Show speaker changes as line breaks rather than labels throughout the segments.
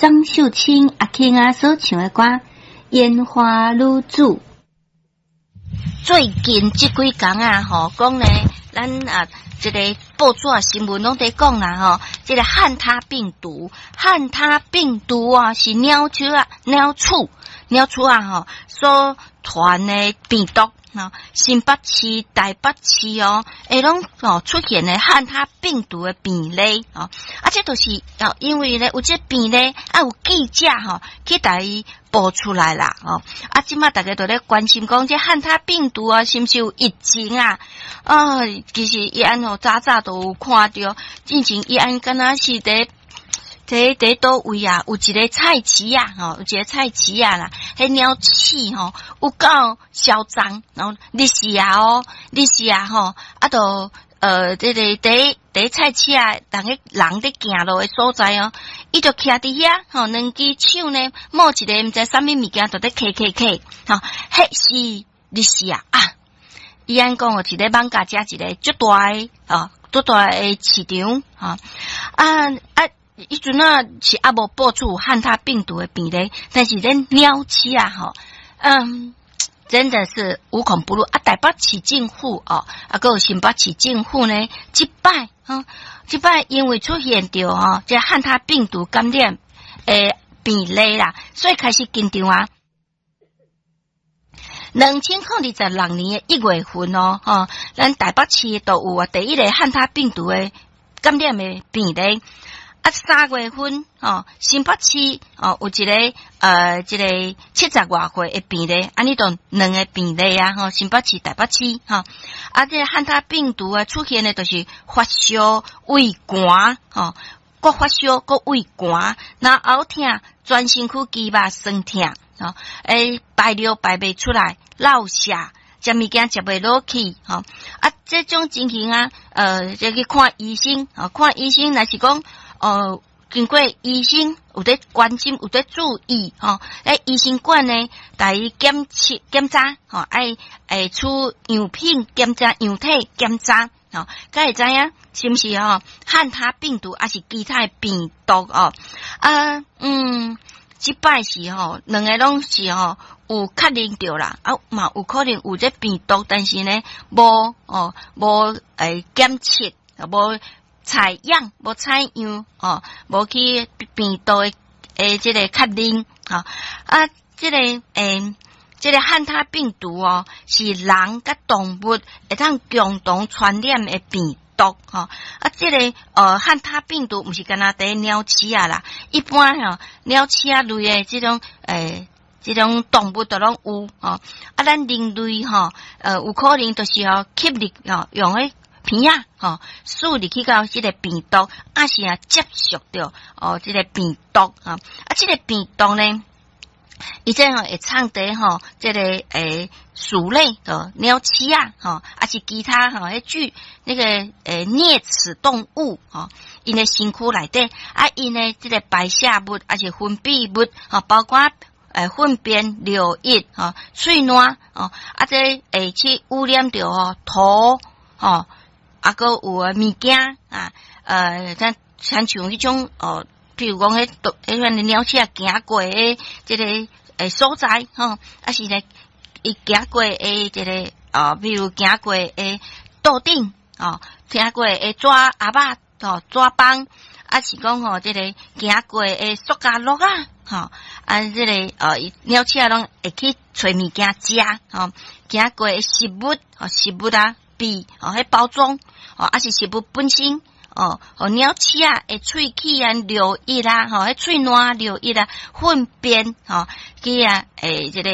張秀清阿卿仔所唱的歌《煙花女子》。
最近這幾工啊，吼講呢，咱啊，這個報紙新聞攏佇講啦，吼，這個漢他病毒，漢他病毒啊，是鳥鼠啊，鳥鼠，鳥鼠啊，吼，所傳的病毒。新北市、台北市哦，會攏哦出現的漢他病毒的病例哦，啊，這都是哦，因為咧有這病例啊，有記者吼去共伊報出來啦，哦，啊，這馬大家都咧關心講這漢他病毒啊，是毋是有疫情啊？啊，其實伊按哦早早都有看著，進前伊按敢若是佇。佇佗位啊，有一個菜市仔，吼，有一個菜市仔啦，彼鳥鼠吼有夠囂張，然後日時啊哦，日時啊吼，啊都這個佇菜市仔，人佇行路的所在哦，伊就徛佇遐，吼，兩支手呢，摸一個毋知啥物物件，就佇揢揢揢，吼，彼是日時啊啊，伊按講哦，是咧艋舺遮一個足大的，哦，足大的市場，吼，啊啊。彼陣啊是猶無報出漢他病毒的病例，但是恁鳥鼠啊吼，真的是無孔不入啊！台北市政府哦，啊，閣有新北市政府呢，這擺吼，這擺因為出現著吼，這漢他病毒感染的病例啦，所以開始緊張啊。2026年的1月份哦，吼，咱台北市都有啊第一個漢他病毒的感染的病例。啊，3月份吼，新北市哦有一個這個70外歲的病例，按呢就兩個病例啊，吼，新北市、台北市吼，啊，這個漢他病毒啊出現的，就是發燒、畏寒，吼，閣發燒、閣畏寒，然後喉痛、全身軀肌肉痠痛，吼，排尿排袂出來，落瀉。食物件食袂落去，吼啊！這種情形啊，就去看醫生，哦，看醫生若是講，經過醫生有佇關心，有佇注意，吼，醫生館呢，共伊檢測檢查，吼，愛會取樣品檢查，樣體檢查，吼，才會知影是毋是吼漢他病毒，抑是其他的病毒哦，啊，這擺是吼，兩個攏是吼有確認著啦，啊嘛有可能有這病毒，但是呢，無哦，無檢測，無採樣，無採樣哦，無去病毒的這個確認，吼啊，這個漢他病毒哦，是人佮動物會當共同傳染的病毒吼，啊，這個漢他病毒毋是干焦佇鳥鼠仔啦，一般吼鳥鼠仔類的這種這種動物都攏有吼，啊，咱人類吼，有可能就是吼吸入吼用彼鼻仔吼輸入去到這個病毒，抑是啊接觸著哦這個病毒吼，啊，這個病毒呢，伊這吼會藏佇吼這個鼠類的鳥鼠仔吼，抑是其他吼彼具那個齧齒動物吼，𪜶的身軀內底啊，𪜶的這個排泄物抑是分泌物吼，包括糞便、尿液吼、喙瀾吼，啊，這會去污染著吼土吼，啊，閣有的物件啊，像親像彼種哦，譬如講彼彼款的鳥鼠仔行過的這個所在吼，抑是咧伊行過的這個哦，比如行過的桌頂哦，行過的紙盒仔吼，紙枋，抑是講吼這個行過的塑膠罌仔吼，啊，這個哦，鳥鼠仔攏會去揣物件食吼，行過的食物吼，食物啊幣哦，彼包裝哦，抑是食物本身。哦，予鳥鼠仔的喙齒啊、尿液啦，吼，彼喙瀾尿液啊、糞便吼，去啊，這個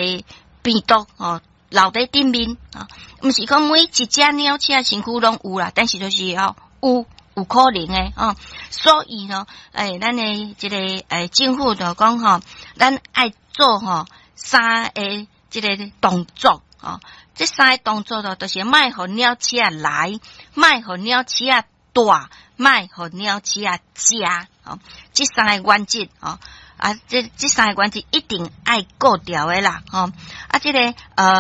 病毒吼留佇頂面，吼，毋是講每一隻鳥鼠仔身軀攏有啦，但是就是吼有可能的吼，所以吼，咱的這個政府就講吼，咱愛做吼三個這個動作，吼，這三個動作就是莫予鳥鼠仔來，莫予鳥鼠仔蹛，莫予鳥鼠仔食，吼，這三個原則，吼，啊，這三個原則一定愛顧著的啦，吼，啊，這個。